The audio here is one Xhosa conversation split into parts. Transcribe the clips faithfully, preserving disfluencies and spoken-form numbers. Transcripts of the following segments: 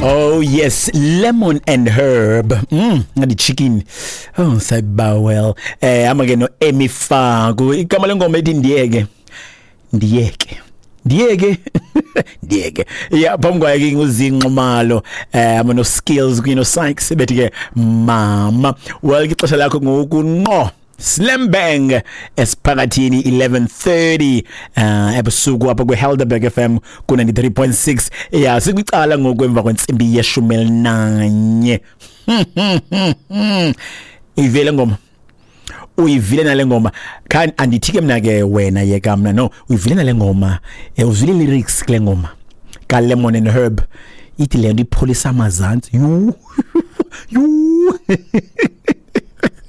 Oh yes, lemon and herb. Mm, ngadi chicken. Oh, sayibawel. Eh ama ke no Emi Faku. Igama lengoma ethi ndiyeke. Ndiyeke. Ndiyeke. Ndiyeke. Yeah, phambi kwaye ke nguzinxumalo. Eh ama no skills kwi no Sykes bethi ke mama. Well, ixesha lakho ngoku nqo. Slam Bang esiphakathini eleven thirty uh ebusuku apha kwiHelderberg F M ku ninety-three point six. Yeah, sikwicala ngoku emva kwentsimbi yeshumi elinanye. Uyivile ngoma, uyivile nale ngoma. Kan andithi ke mna ke wena yeka mna no, uyivile nale ngoma, uzwile lyrics kule ngoma ka Lemon and Herb. Ithi le nto ipholisa amazantsi. Yu yu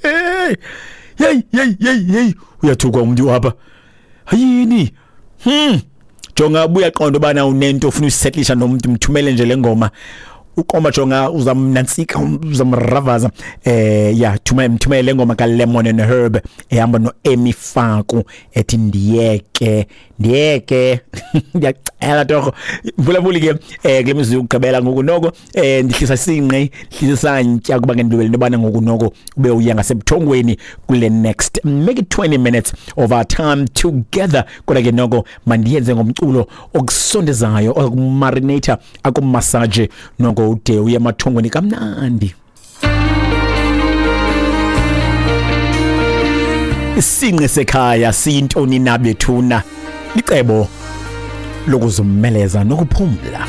hey. Hey, hey, hey, hey, uyathukwa umuntu apha. Hayini. Hmm. Jonga buya qonda ubana unento ofuna uyisettlisha nomuntu, mthumele nje le ngoma. Uqoma jonga uzamnansika, uzamravaza. Eh yeah, thumele mthumele le ngoma ka Lemon and Herb ehamba no Emi Faku ethi ndiyeke, ndiyeke. Ndiyacela torho. Mvulabuli ke eh kule mizuzu yokugqibela ngoku noko eh ndihlisa sinqe, ndihlisa santya kuba ngendibele nobana ngoku noko ube uya ngasebuthongweni kule next make it twenty minutes of our time together. Kodwa ke noko mandiyenze ngomculo okusondezayo, okumarinator, akumassage noko ude uye emathongweni kamnandi. Isinqe sekhaya siyintoni na bethuna? Licebo lokuzumeleza nokuphumla.